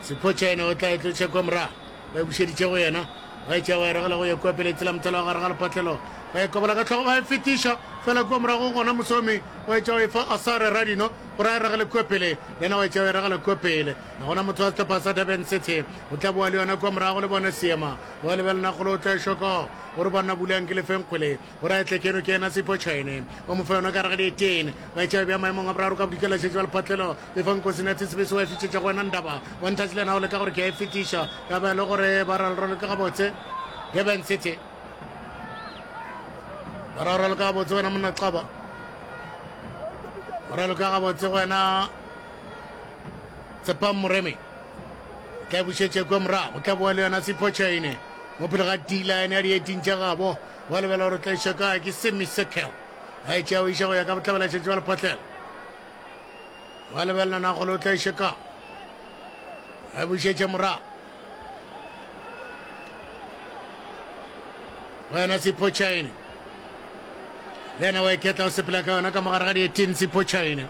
Sipho Chaine o tla e tlotšha kwa morago. Ba e bušeditše go yena. Ba e tšea ba e ragela go ya kua pele tsela mothalo wa gare ga lepatlelo. Ba e kobola ka hlogo ba e fetiša fela kua morago gona Mosomi wa e tšea wa e fa Asare Radino gore a e ragele kua pele. Le yena wa e tšea wa e ragela kua pele. Ga gona motho wa sehlopha sa Durban City o tla boa le yona kua morago le bone seema. Wa lebelela kgolo o tla e šoka gore banna bulang ke lefeng kgwele gore a etle keno ke yena Sipho Chaine o mo fa yona ka gare ga dietene ba e tšea bja maemong a boraro ka bodikela šetše ba lephatlelo e fa Nkosinathi Sibisi wa e fitšetša go wena Ndaba wa nthatše le yena o leka gore ke a e fetiša ya ba e le gore ba ralraloke gabotse Durban City ba ralraloke gabotse wena monna Xaba ba raloke gabotse wena Tshepang Moremi tla e bušetše kua morago tla boa le yona Sipho Chaine mo pele ga D-line ya di-18 tša gabo wa lebela gore tla iša kae ke semi circle a e tšea o iša go ya ka bohlabela šetše ba lephatlela wa lebelela na gole o tla iša kae a e bušetše morago wena Sipho Chaine le yena wa iketla o sepela ka yona ka mogare ga di-18 Sipho Chaine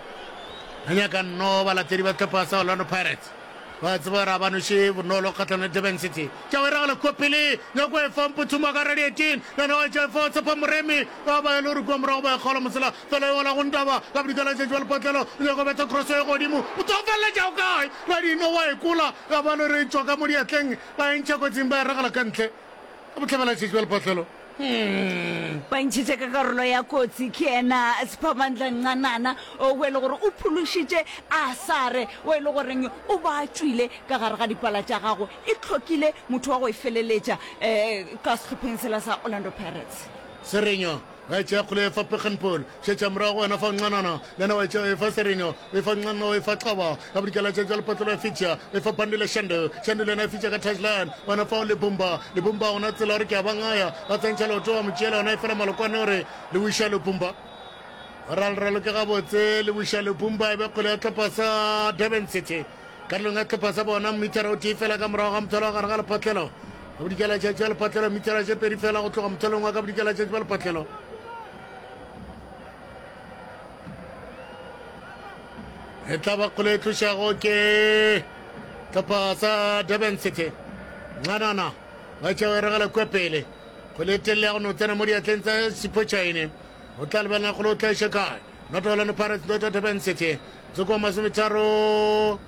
a nyaka nno balatedi ba sehlopha sa Orlando Pirates ba tseba gore a ba noše bonolo kgatlhanong le Durban City tša o e ragela kua pele nyako e fa Mputhuma ka radi 18 le yena wa tša fa Tshepa Moremi ba ba e le gore kua morago ba e kgaola mosela fela e wela go Ntaba ka bodikela tšatši ba lepatlelo o nyako betha cross e godimo motho o feleletša o kae Radino wa e kola ya ba le re tšwa ka mo diatleng ba e ntšha kotsing ba e ragela ka ntle ka bohlabela tšatši ba lepatlelo. Hmm. Ba ntšhitše ka karolo ya kotsi ke yena Siphamandla Ncanana o e le gore o phološitše Asare o e le goreng o ba tšwile ka gare ga dipala tša gago e hlokile motho wa go e feleletša um ka sehlopheng sela sa Orlando Pirates. Serenyo Wa e tšea kgole e fa Pekgenpool. Šetša morago go wena fa Ncanana. Le yena wa e tšea o e fa Serinyo. O e fa Ncanana o e fa Xaba. Ya bodikela tša tšwa lepatlelo ya fitša. O e fa Bandile Shandu. Shandu le yena e fitša ka touchline. Wena fao Lebumba. Lebumba gona tsela gore ke a ba ngaya. Ba tsentšha leoto wa mo tšeela yona e fela malokwane gore le wiša Lebumba. Ralralo ke gabotse le wiša Lebumba e be kgwele ya tlhopha sa Durban City. Karolong ya sehlopha sa bona, mithara o tee fela ka morago ga mothalo wa gare ga lephatlelo. Ka bodikelatšatši bja lephatlelo, mithara tše pedi fela go tloga mothalong wa ka bodikelatšatši bja lephatlelo. E tla ba kgole e tlošago ke hlopha sa Durban City. Ncanana ba tšea o e ragela kua pele. Kgole e telele ya go no tsena mo diatleng tsa Sipho Chaine. O tla lebelela kgole o tla iša kae. Not Orlando Pirates, not Durban City. Motsoko wa masometharo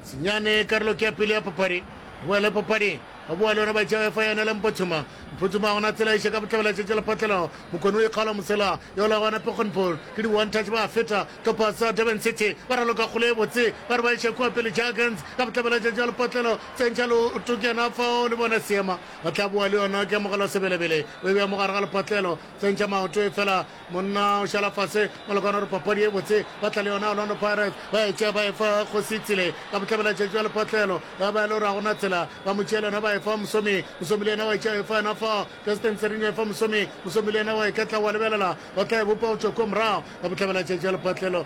senyane karolo ke ya pele ya papadi boele papading ba boa le yona ba tšea fa yena le mpothuma mpothuma gona tsela iše ka bohlabela tšetše lephatlelo mokone o ikgaola mosela yola gona pekgonpol ke di one touch ba feta tlhopha sa durban city ba raloka kgolo e botse ba re ba iše kua pele jagans ka bohlabela tšetše lepatlelo tsentšha leoto ke yena fao le bona seema ba tla boa le yona ke amogela sebelebele o e bea mo gare ga lepatlelo tsentšha maoto e fela Monna o šala fase malokana gore papadi e botse ba tla le yona Orlando Pirates ba e tšea ba e fa Kgosi Tsile ka bohlabela tšatši wa lephatlelo ya ba e le gore ga gona tsela ba mo tšea le yona ba e fa Mosomi Mosomi le yena wa e tšea e fa yena fa Justin Serinyo e fa Mosomi Mosomi le yena wa e ketla wa lebelela ba tla e bopa go tšwa kua morago ka bohlabela tšatši wa lephatlelo.